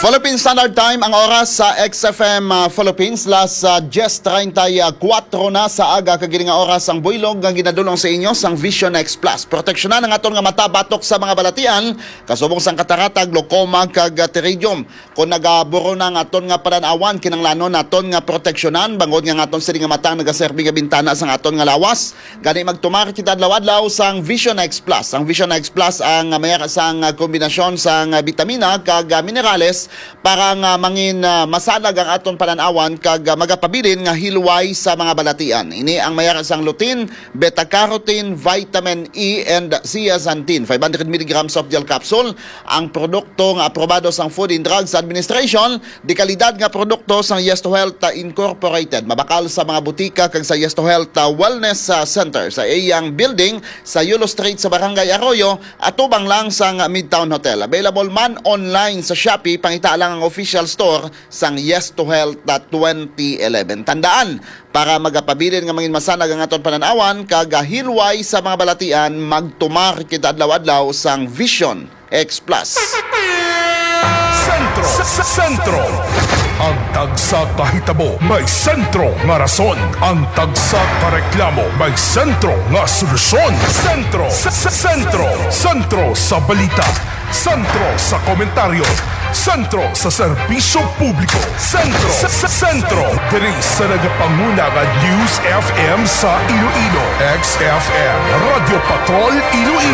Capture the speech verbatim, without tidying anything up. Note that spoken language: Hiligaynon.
Philippine Standard Time, ang oras sa X F M, ah, Philippines, las, ah, diyes treinta y cuatro na sa aga, kag ini nga oras ang buylog nga ginadulong sa inyo sang Vision X Plus. Proteksyonan ang aton nga mata batok sa mga balatian, kasubong sang katarata, glaucoma, kag, ah, pterygium. Kung nagaburo na ang aton nga panan-awan, kinahanglanon naton nga proteksyonan, bangod nga ang aton sini nga mata ang nagaserbi nga bintana sang aton nga lawas. Gani, magtumar kita adlaw-adlaw sang Vision X Plus. Ang Vision X Plus ang, ah, may sang, ah, kombinasyon sang, ah, bitamina kag, ah, minerales para nga mangin, ah, masanag ang aton panan-awan kag, ah, magapabilin nga hilway sa mga balatian. Ini ang may sang lutein, beta-carotene, vitamin E, and zeaxanthin. Five hundred milligrams soft gel capsule, ang produkto nga aprobado sang Food and Drugs Administration, dekalidad nga produkto sang Yes to Health, ah, Incorporated. Mabakal sa mga butika kag sa Yes to Health, ah, Wellness, ah, Center sa iyang building sa Yulo Street sa Barangay Arroyo, atubang lang sang Midtown Hotel. Available man online sa Shopee, pangita lang ang official store sang Yes to Health, ah, twenty eleven. Tandaan, para magapabilin nga mangin masanag ang aton panan-awan kag hilway sa mga balatian, magtumar kita adlaw-adlaw sang Vision X Plus. Sentro, s- s- sentro. Ang tagsa ka hitabo may sentro nga rason. Ang tagsa ka reklamo may sentro nga solusyon. Sentro, s- s- sentro. Sentro sa balita. Sentro sa komentaryo. Sentro sa serbisyo publiko. Sentro, s- s- sentro. Diri sa nagapanguna nga News F M sa Iloilo, X F M, Radyo Patrol Iloilo.